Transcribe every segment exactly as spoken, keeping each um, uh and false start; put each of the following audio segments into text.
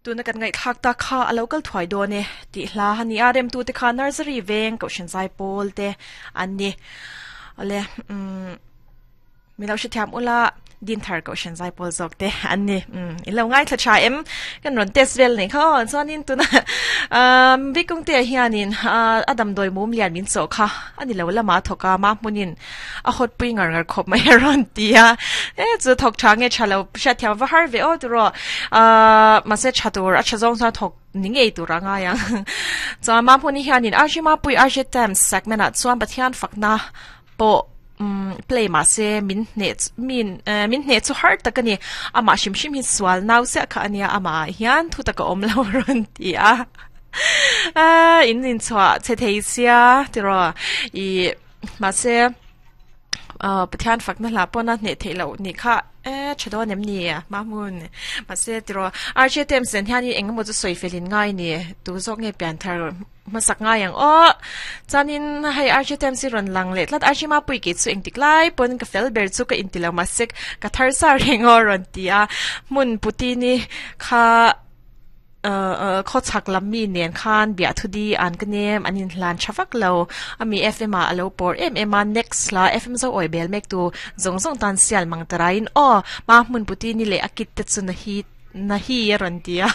Tuna kan ngai thak ta kha a local thuai do ne ti hla hani a rem tu te kha nursery veng ko shin zai pol te an ni ale um mi lo shi thiam ula din thar ko shan zai pol zok te an ni um in lo ngai thla cha em kan ron test vel nei kha chuan in tuna um bikung te hianin adam doi mum lian min cho kha ani lo lama thoka ma munin a hot pui ngar ngar khop mai ron tia e chu thok tha nge chalo sha thiam va har ve o tu ro a ma se chatur a chazong sa thok ni ngei tu ranga yang chuan ma hmuni hianin arjima pui arje tem segment a chuan pathian fakna po um play ma se min ne min min ne chu har takani ama shim shim hi swal nau se kha ania ama hian thu taka om lo ron ti a a in in chwa che thei sia ti ro i ma se a pathian fakna la pona ne thei lo ni kha e chado nem ni ma mun ma se ti ro arje tem sen hian ni engemaw chu soi felin ngai ni tu zok nge pian thar ma sak nga yang o chanin hei arje tem si ron lang le tlat arje ma pui ki chu eng tik lai pon ka fel ber chu ka intilo ma sek ka thar sa reng o ron tia mun puti ni kha ờ kho chak lam mi nen khan bia thu di an ka nem anin hlan chafak lo ami fm a alo por em em a next la fm zo oi bel mek tu zong zong tan sial mang tarain o ma mun puti ni le akit te chu na hi na hi ron tia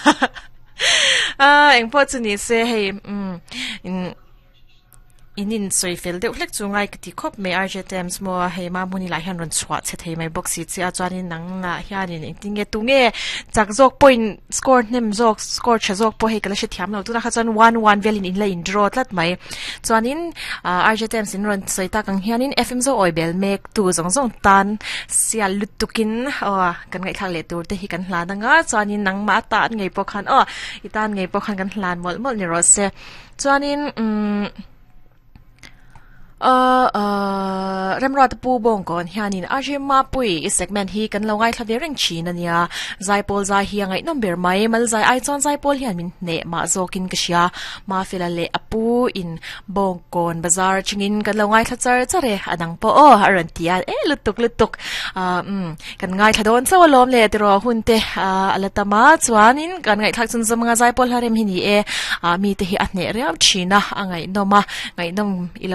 a eng po chu ni se hei um in inin soi fel deuh hlek chu ngai ka ti khop me R J Times mo hei ma muni lai hian ron chhuah che thei mai box si chi a chuanin nang la hianin engtin nge tu nge chak zawk point score hnem zawk score tha zawk pawh hei ka la hre thiam lo tuna kha chuan one one velin in la in draw tlat mai chuanin R J Times in ron sawi tak ang hianin F M zo oi bel mek tu zawng zawng tan sial lutukin aw kan ngaihthlak leh tur te hi kan hlan anga chuanin nang ma tan ngei pawh khan aw i tan ngei pawh khan kan hlan mawlh mawlh ni rawh se chuanin umm Uh, uh, remra te pu bong kon hianin arje ma pui i segment hi kan lo ngai thla ve reng chin ania zai pol zai hi angai number mai mal zai ai chon zai pol hian min ne ma zokin ka sia ma fela le apu in bong kon bazar chingin kan lo ngai thla char chare adang po o aran tia e lutuk lutuk a um kan ngai thla don chaw lom le tiro hun te alatama chuanin kan ngai thak chun zamanga zai pol harem hi ni e a mi te hi a hne riau china angai noma ngai nom ilo